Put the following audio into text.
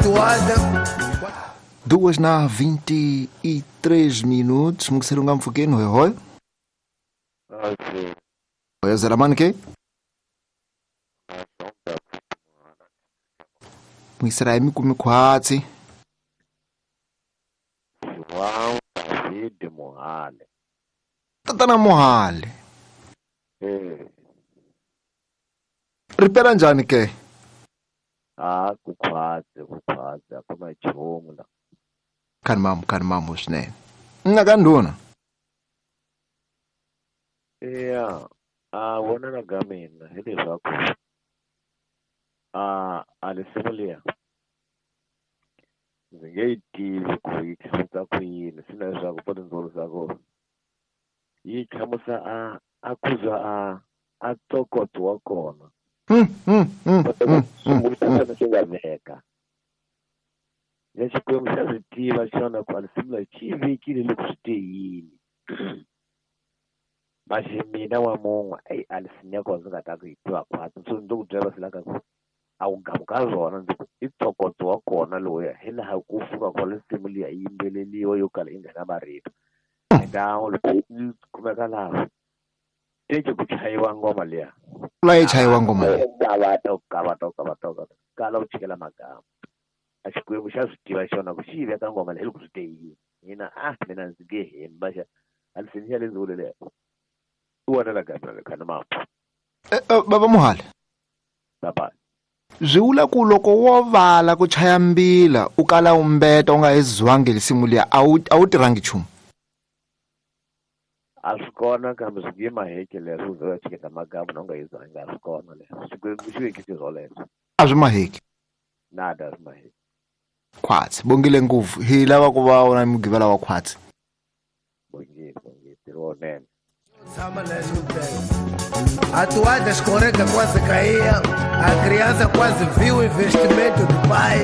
toada. 2:23 mukuserunga mfukeni hoyo hoyo zeramani ke muisirayi mikumi khwatsi João David Mohale. Tatana Mohale. Ripela njhani ke? Ah, kukhwatsi akuna nchumu la. Khani mamu swinene. Nna ka ndhuna. Yeah, vonela ka mina hi leswaku a risimu liya ndzi nge yi tivi ku yi hlamusa ku yini swi na leswaku po tindzawulo ku yi hlamusa a kuza a ntokoto wa kona swimbutana xi nga veka ya Xikwembu xa swi tiva xona ku a risimu leyi xi yi vekile loko swi te yini maxi mina wa mun'we eyi a risimu ya kona ndzi nga ta ku yi tiva khwatsi so ndzi ku byela va ka ku a wu gamuka rona ndzi ku i ntokoto wa kona lowuya hi laha ku fika kona risimu liya yi yimbeleliwa yo kala yi nga na marito enda loko yi kumeka laha teke ku chayiwa ngoma liya la yi chayiwa ngoma liya gava kala u chikela magama a Xikwembu xa swi tiva xona ku xi yi veka ngoma leyi loko swi te yini mina mina ndzi nge hembi maxa a risimu ya le ndzawulo leya i vonela ka mina khani mapu baba Mohale baba swi vula ku loko wo vala ku chaya mbila u kala u mbeta u nga hezwangi risimu liya a wu tirhangi nchumu a swi kona kambe swi nge maheke leswo u ze u ya chiketa magamu na u nga hezwangi a swi kona leswo Xikwembu xi vekise swoleswo a swi maheki nada a swi maheki khwatsi bongile ngopfu hi lava ku va wona mugivela wa khwatsi bongile ntirho wonene. A toada escorrega, quase caía. A criança quase viu o investimento do pai.